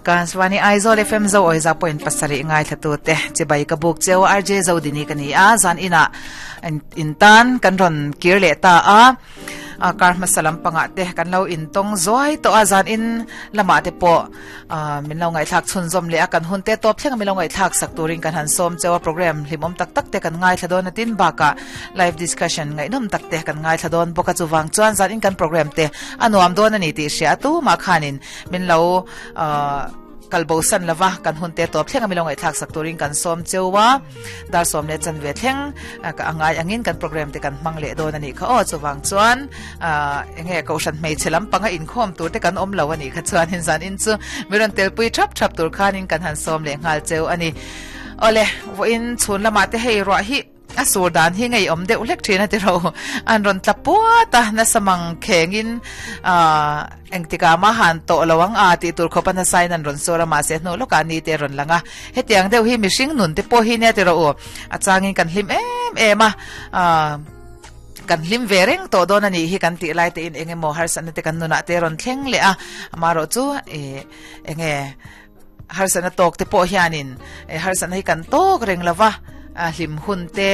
Akashvani Aizawl FM zo awi za point pasarih ngaithla te chibai ka buk cheu RJ Zodini ka ni a zan ina in tan kan ron kir leh ta a a kar hmasa lampangah te kan lo intawng zuai tawh a zan in lamah te pawh min lo ngaihthlak chhunzawm leh a kan hun te tawp thleng a min lo ngaihthlak sak turin kan han sawm cheu a program hlimawm tak tak te kan ngaithla dawn a tin bakah live discussion ngaihnawm tak te kan ngaithla dawn bawk a chuvang chuan zan in kan program te a nuam dawn a ni tih hria a tumah khanin min lo kalbo san lova kan hun te tawp thleng a milo ngaihthlak sak turin kan sawm cheu a dar sawm leh chan ve thleng ka angai angin kan program te kan hmang leh dawn ani kha aw chuwang chuan enge kohhran hmeichhe lampanga inkhawm tur te kan awm lo ani kha chuan in zan in chu miron telpui thap thap tur khanin kan han sawm leh nghal cheu ani ole voin chhun lamah te hei ruah hi A sur dan hi ngei awm deuh hlek thin a ti ro. An rawn tla puat a, nasa mang khengin ah engtikah mah han tawh lo ang a tih tur khawp a nasa in an rawn sur a, mahse hnu lawkah ni te a rawn lang a. Hetiang deuh hi mihring nun te pawh hi nia ti rawh u. A changin kan hlim em em a, ah kan hlim ve reng tawh dawn a nih hi kan tih lai te in eng emaw harsatna te kan nunah te a rawn thleng leh a, amaherawh chu ih enge Harsatna tawk te pawh hianin harsatna hi kan tawk reng lo va, hlim hun te,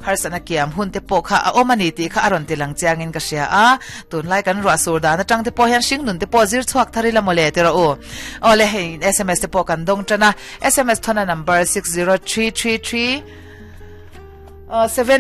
harsatna kiam hun te pawh kha a awm a ni tih kha a rawn ti lang chiangin ka hria a. Tunlai kan ruah sur dan atang te pawh hian hringnun te pawh zir chhuak thar ila mawle ti rawh u. Aw le, hei sms te pawh kan dawng tan a, sms thawna number 60333 7.